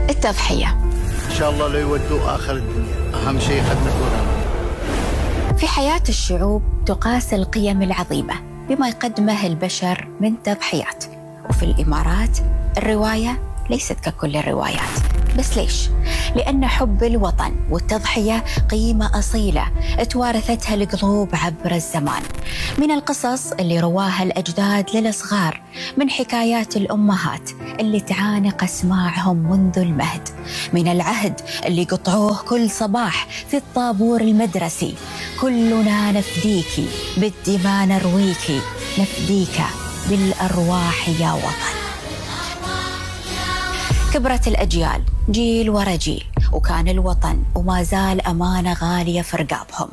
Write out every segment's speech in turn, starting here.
التضحية. إن شاء الله لا يودوا آخر الدنيا، أهم شيء خدمة الغنم. في حياة الشعوب تقاس القيم العظيمة بما يقدمه البشر من تضحيات، وفي الإمارات الرواية ليست ككل الروايات. بس ليش؟ لأن حب الوطن والتضحية قيمة أصيلة توارثتها القلوب عبر الزمان، من القصص اللي رواها الأجداد للصغار، من حكايات الأمهات اللي تعانق أسماعهم منذ المهد، من العهد اللي قطعوه كل صباح في الطابور المدرسي: كلنا نفديكي بالدماء نرويكي، نفديك بالأرواح يا وطن. كبرت الأجيال جيل ورا جيل، وكان الوطن وما زال أمانة غالية في رقابهم.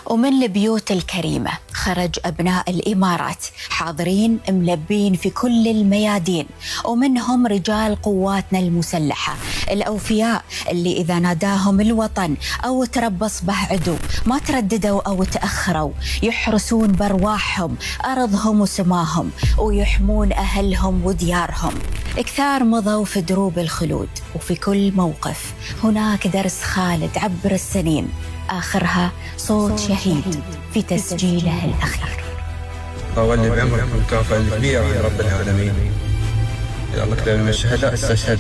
ومن البيوت الكريمة خرج أبناء الإمارات حاضرين ملبين في كل الميادين، ومنهم رجال قواتنا المسلحة الأوفياء اللي إذا ناداهم الوطن أو تربص به عدو ما ترددوا أو تأخروا، يحرسون بأرواحهم أرضهم وسماهم، ويحمون أهلهم وديارهم. كثار مضوا في دروب الخلود، وفي كل موقف هناك درس خالد عبر السنين، آخرها صوت شهيد في تسجيله الأخير. أولي بعمرك المكافأة الكبيرة يا رب العالمين. يا الله كتاب من الشهداء استشهد.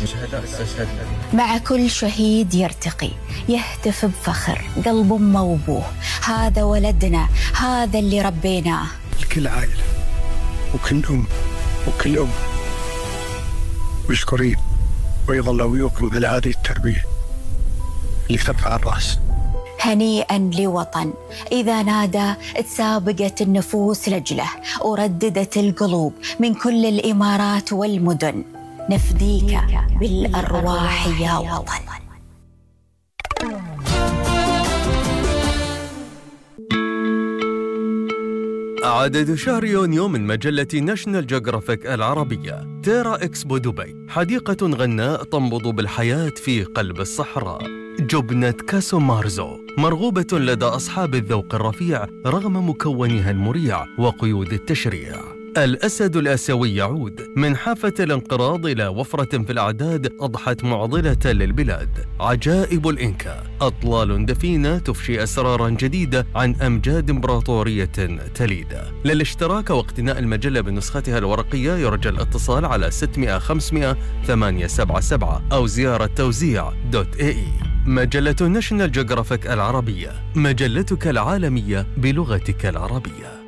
مع كل شهيد يرتقي يهتف بفخر قلب أمه وأبوه: هذا ولدنا، هذا اللي ربيناه. كل عائلة وكل أم وكل أم مشكورين، ويظل أبوكم على هذه التربية اللي ترفع الرأس. هنيئا لوطن إذا نادى تسابقت النفوس لجله، ورددت القلوب من كل الإمارات والمدن: نفديك بالأرواح يا وطن. عدد شهر يونيو من مجلة ناشونال جيوغرافيك العربية. تيرا إكسبو دبي، حديقة غناء تنبض بالحياة في قلب الصحراء. جبنة كاسو مارزو، مرغوبة لدى أصحاب الذوق الرفيع رغم مكونها المريع وقيود التشريع. الأسد الآسيوي يعود، من حافة الانقراض إلى وفرة في الأعداد أضحت معضلة للبلاد. عجائب الإنكا، أطلال دفينة تفشي أسرارا جديدة عن أمجاد إمبراطورية تليدة. للاشتراك واقتناء المجلة بنسختها الورقية يرجى الاتصال على 600 500 877 أو زيارة توزيع.ae. مجلة ناشونال جيوغرافيك العربية، مجلتك العالمية بلغتك العربية.